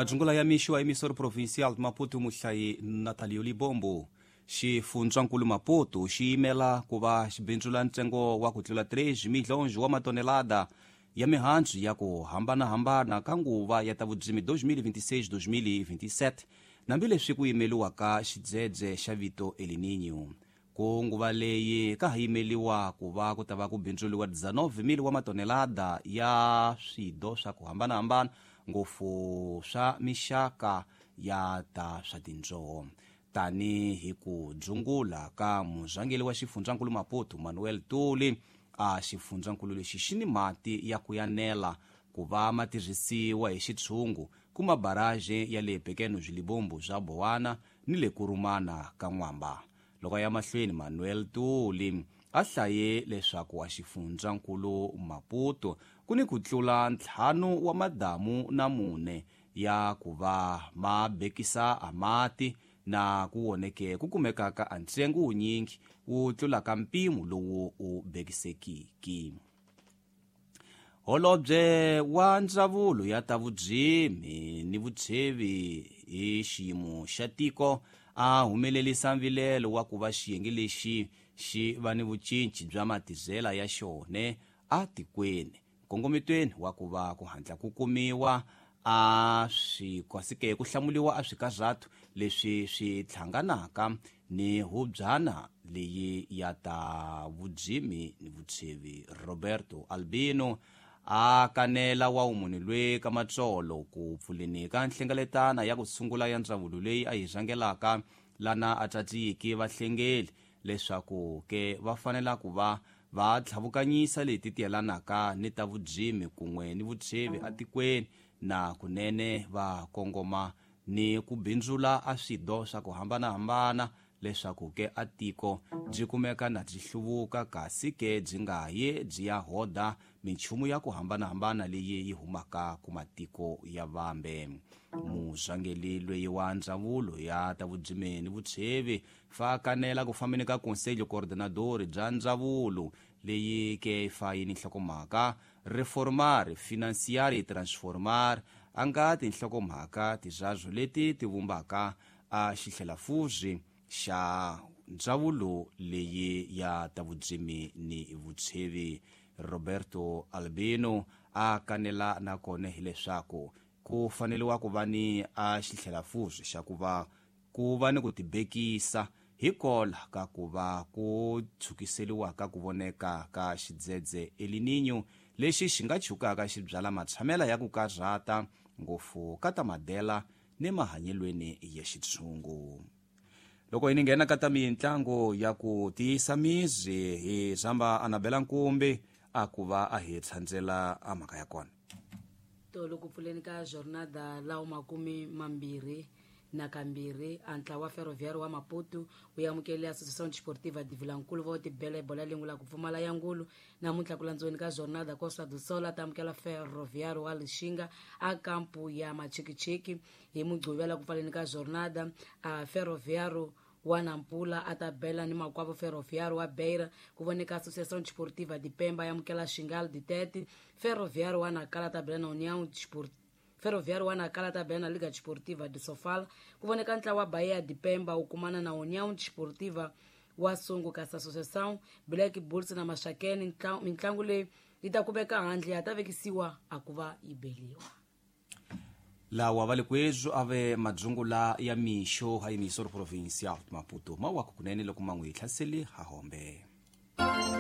Majungula ya mixo a emissora provincial de Maputo, muhlayi Natalio Libombo. Xifundzankulu Maputo xi yimela ku va xi bindzula ntsengo wa ku tlula 3 milhões wa matonelada ya mihandzu ya ku hambanahambana ka nguva ya ta vudzimi 2026-2027, hambileswi ku yimeliwaka xidzedze xa vito El Niño. Ku nguva leyi ka ha yimeliwa ku va ku ta va ku bindzuliwa 19,000 wa matonelada ya swido swa ku hambanahambana, ngopfu swa mixaka ya ta swa tindzoho, tani hi ku dzungula ka murhangeri wa xifundzankulu Maputo Manuel Tuli. A xifundzankulu lexi xi ni mati ya ku yanela ku va ma tirhisiwa hi xitshungu ku mabaraje ya le Pequenos Libombo swa Bowana ni le Kurumana ka N'wamba. Loko ya mahlweni, Manuel Tuli a hlaye leswaku a xifundzankulu Maputo ku ni ku tlula 5 wa madamu na 4 ya ku va ma bekisa a mati, na ku woneke ku kumekaka a ntsengo wunyingi wu tlulaka mpimo lowu u bekisekiki. Holobye wa ndzawulo ya ta vudzimi ni vutshevi hi xiyimo xa tiko a humelerisa mvilelo wa ku va xiyenge lexi xi va ni vucinci bya matizela ya xone a tikweni, nkongometweni wa ku va ku hatla ku kumiwa a swi kwasike ku hlamuliwa a swikarhatu leswi swi hlanganaka ni hubyana leyi ya ta vudzimi ni vutshevi. Roberto Albino a kanela wa munhu lwe ka matsolo ku pfuleni ka nhlengeletana ya ku sungula ya ndzawulo leyi a yi rhangelaka, lana a tsatsiki vahlengeli leswaku ke va fanela ku va va tlhavukanyisa leti tiyelanaka ni ta vudzimi kun'we ni vutshevi atikweni, na kunene va kongoma ni ku bindzula a swido swa ku hambanahambana leswaku ke a tiko byi kumeka na byi hluvuka, kasi ke byi nga ye byi ya hoda minchumu ya ku hambanahambana leyi yi humaka ku matiko ya vambe. Murhangeri loyi wa ndzawulo ya ta vudzimi ni vutshevi fa kanela ku fambeni ka Conselho Coordenador bya ndzawulo leyi ke fa yi ni nhlokomhaka Reformar, Financiar e Transformar, a nga tinhlokomhaka tizazwo leti ti vumbaka a xihlelafuzi xa ndzawulo leyi ya ta vudzimi ni vutshevi. Roberto Albino a kanela nakona hileswaku ku faneliwa ku va ni a xihlelafuzi xa ku va ni ku tibekisa hikola ka ku va ku tshukiseliwa ka ku voneka ka xidzedze El Niño lexi xi nga chukaka xi byala matshamela ya ku karhata ngopfu ka ta madela ni mahanyelweni ya xitshungu. Loko hi nghena ka ta mintlango ya ku tiyisa mizi, hi zamba Anabela Nkumbi a ku va a hi tshandzela a mhaka ya kona. Tolo ku pfuleni ka jornada lawo 22 a ntlawa wa Ferroviário wa Maputo wu amukele Associação Desportiva de Vilankulu va tibela bola lingula ku pfumala ya ngulu. Namuntlha ku landziweni ka jornada Costa do Sol a ta amukela Ferroviário wa Lixinga a kampu ya Machikichiki. Hi Mugqivela ku pfaleni ka jornada a Ferroviário wa Nampula a ta bela ni makwavo Ferroviário wa Beira. Ku voneka Associação Desportiva de Pemba ya amukela Xingal de Tete. Ferroviário wa Nacala ta bela na União Desportiva Ferroviário wa Nacala ta bela na Liga Desportiva de Sofala. Ku voneka ntlawa wa Bahia de Pemba wu kumana na União Desportiva wa Sungu, kasi Associação Black Bulls na Maxakeni mintlangu leyi yi ta kumeka handle ya ta vekisiwa a ku va yi beliwa. Lawa va le kwezwo ave madzungula ya mixo ha emissora provincial Maputo mawako kunene loko man'we hi hlaseli ha hombe.